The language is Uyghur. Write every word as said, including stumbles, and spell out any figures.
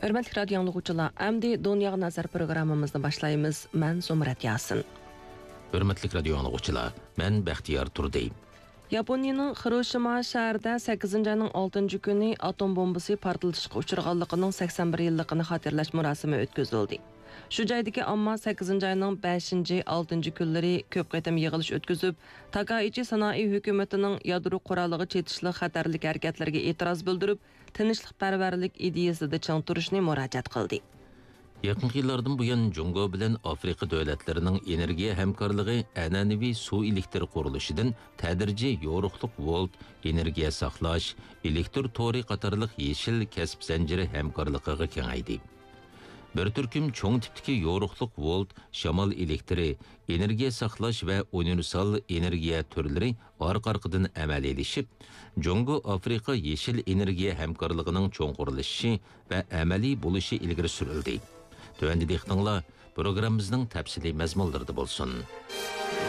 ھۆرمەتلىك رادىيو ئاڭلىغۇچىلار، ئەمدى دۇنياغا نەزەر پروگراممىمىزنى باشلايمىز. مەن زۇمرەت ياسىن. ھۆرمەتلىك رادىيو ئاڭلىغۇچىلار، مەن بەختىيار تۇردى. ياپونىيىنىڭ خىروشىما شەھىرىدە سەككىزىنچى ئاينىڭ ئالتىنچى كۈنى ئاتوم بومبىسى پارتلىتىشقا ئۇچرىغانلىقىنىڭ سەكسەن بىر يىللىقىنى خاتىرىلەش مۇراسىمى ئۆتكۈزۈلدى. شۇ جايدىكى ئامما سەككىزىنچى ئاينىڭ بەشىنچى، ئالتىنچى كۈنلىرى كۆپ قېتىم يىغىلىش ئۆتكۈزۈپ، تاكائىچى سانائى ھۆكۈمىتىنىڭ يادرو قورالىغا چېتىشلىق خەتەرلىك ھەرىكەتلىرىگە ئېتىراز بىلدۈرۈپ، تىنچلىقپەرۋەرلىك ئىدىيىسىدە چىڭ تۇرۇشنى مۇراجىئەت قىلدى. يېقىنقى يىللاردىن بۇيان، جۇڭگو بىلەن ئافرىقا دۆلەتلىرىنىڭ ئېنېرگىيە ھەمكارلىقى ئەنئەنىۋى سۇ ئېلېكتر قۇرۇلۇشىدىن تەدرىجىي يورۇقلۇق ۋولت، ئېنېرگىيە ساقلاش، ئېلېكتر تورى قاتارلىق يېشىل كەسىپ زەنجىرى ھەمكارلىقىغا كېڭەيدى. بىر تۈركۈم چوڭ تىپتىكى يورۇقلۇق ۋولت، شامال ئېلېكتىرى، ئېنېرگىيە ساقلاش ۋە ئۇنىۋېرسال ئېنېرگىيە تۈرلىرى ئارقا-ئارقىدىن ئەمەلىيلىشىپ، جۇڭگو ئافرىقا يېشىل ئېنېرگىيە ھەمكارلىقىنىڭ چوڭقۇرلىشىشى ۋە ئەمەلىي بولۇشى ئىلگىرى سۈرۈلدى. تۆۋەندە دىققىتىڭلار پروگراممىمىزنىڭ تەپسىلىي مەزمۇنلىرىدا بولسۇن.